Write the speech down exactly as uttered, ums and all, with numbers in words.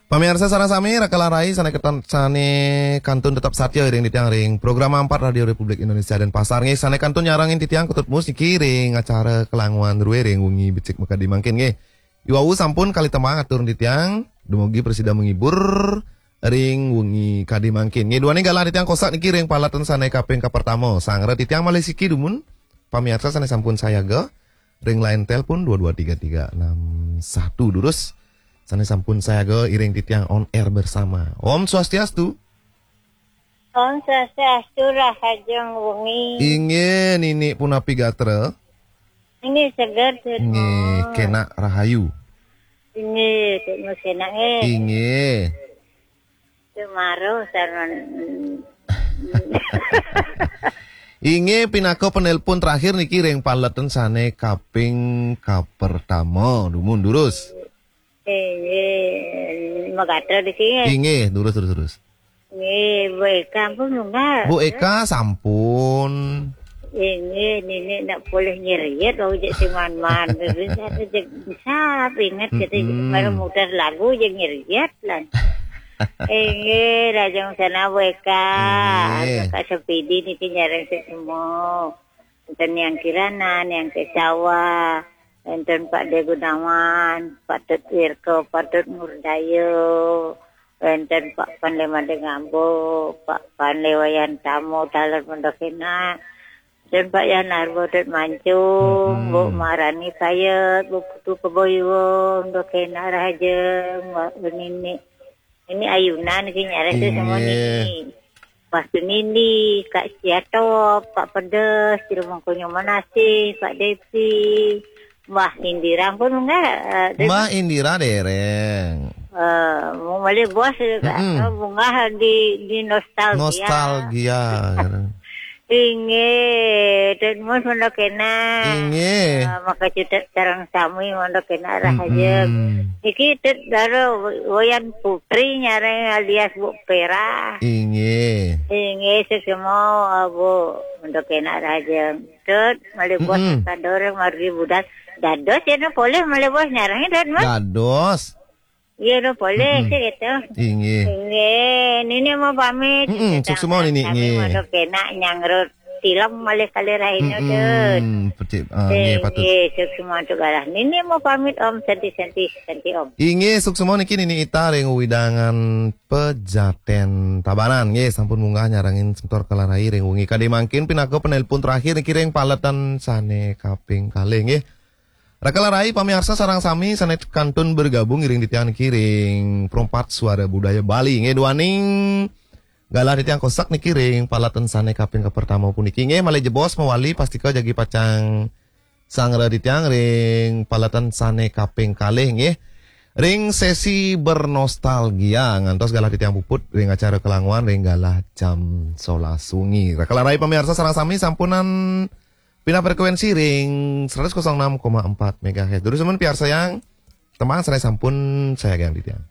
Pamiarsa sareng sami, raka lan rai sané ketan-, sané kantun tetep satya iring titiang ring Program empat Radio Republik Indonesia Denpasar nggih, sané kantun nyarengin titiang Ketut Mus niki ring acara Kelanguan Rue ring wengi becik makadi mangkin nggih. Iwau sampun kalih tembang atur titiang, dumugi prasida menghibur ring wengi kadi mangkin. Nggih, duaning galah titiang kosak niki ring paletan sané kaping kapertama. Sanggra titiang malih siki dumun, pamiarsa sané sampun sayaga ring line telepon dua dua tiga tiga enam satu, durus sané sampun sayaga iring titiang on air bersama. Om Swastiastu. Om Swastiastu, rahajeng wengi. Inggih, Nini punapi gatra? Inggih, seger, Tut Mus. Nggih, kenak rahayu. Inggih, Tut Mus, kenak nggih. Inggih. Tut Mus, sareng. Inggih, pinaka penelpon terakhir niki ring paletan sané kaping kapertama. Dumun, durus. Inggih, magatra di sini. Inggih, durus, durus, durus. Inggih, Bu Eka pun enggak. Bu Eka sampun. Inggih, Nini nak polih nyeriet, wau jek si man-man. Bisa, bisa, ingat, kita Mm-mm. Baru muter lagu, jek nyeriet lah. Inggih, rahajeng sané Bu Eka. Inggih. Kak Sepidi niki nyarengin semua. Wénten Yang Kirana, Yang Kesawa, wénten Pak De Gunawan, Pak Tut Wirko, Pak Tut Murdayo, wénten Pak Panlé Madé Ngambo, Pak Panlé Wayan Tamo, taler Mendokena, wénten Pak Yan Arbo, Tut Mancung, Mm-mm. Bu Marani Payet, Bu Putu Keboyuwung, Mendokena rahajeng, Mbak Nini. Ini ayunan niki nyarengin semua Inggih. Nini. Wastu Nini, Kak Siatop, Kak Pedes, Jero Mangkonyo Manasih, Kak Devi, Mbah Indira pun enggak, eh, Mbah Indira dereng. Eh, mau malih bos, Mm-mm. Eh, munggah di, di nostalgia. Nostalgia. Inggih, Tut Mus Mendokena. Inggih. Eh, maka cutet sareng sami Mendokena rahajeng. Mm-mm. Niki Tut Daro Wayan Putri nyarengin alias Bu Pera. Inggih. Inggih, suksma, Bu, Mendokena rahajeng. Tut, malih bos Mm-mm. Sadorong margi budal. Dados ya, no, polih malih bos nyarengin, Tut Mus. Dados. Iya, no, polih Mm-mm. Sih gitu. Inggih. Inggih, Nini mau pamit. Mm-mm, suksma, Nini, kami nggih. Mendokena nyanggra tilem malih kalih rahina, Tut. Mm-mm, pecik, ah, nggih, patut. Inggih, suksma antuk galah. Nini mau pamit, Om. Santi, santi, santi, Om. Inggih, suksma niki Nini Ita ring wewidangan Pejaten Tabanan. Nggih, sampun munggah nyarengin semeton raka lan rai ring wengi kadi mangkin, pinaka penelpon terakhir niki ring paletan sané kaping kalih, nggih. Raka lan rai pamiarsa sareng sami sané kantun bergabung iring titiang niki ring Perempat Suara Budaya Bali. Nggih, duaning galah titiang kosak niki ring paletan sané kaping kapertama puniki. Nggih, malih jebos mawali pastika jagi pacang sanggra titiang ring paletan sané kaping kalih, nggih. Ring sesi bernostalgia ngantos galah titiang puput ring acara Kelanguan ring galah jam solas wengi. Raka lan rai pamiarsa sareng sami sampunang pindah frekuensi ring seratus kosong enam koma empat megahertz. Durus semeton piarsayang tembang sané sampun sayaga titiang.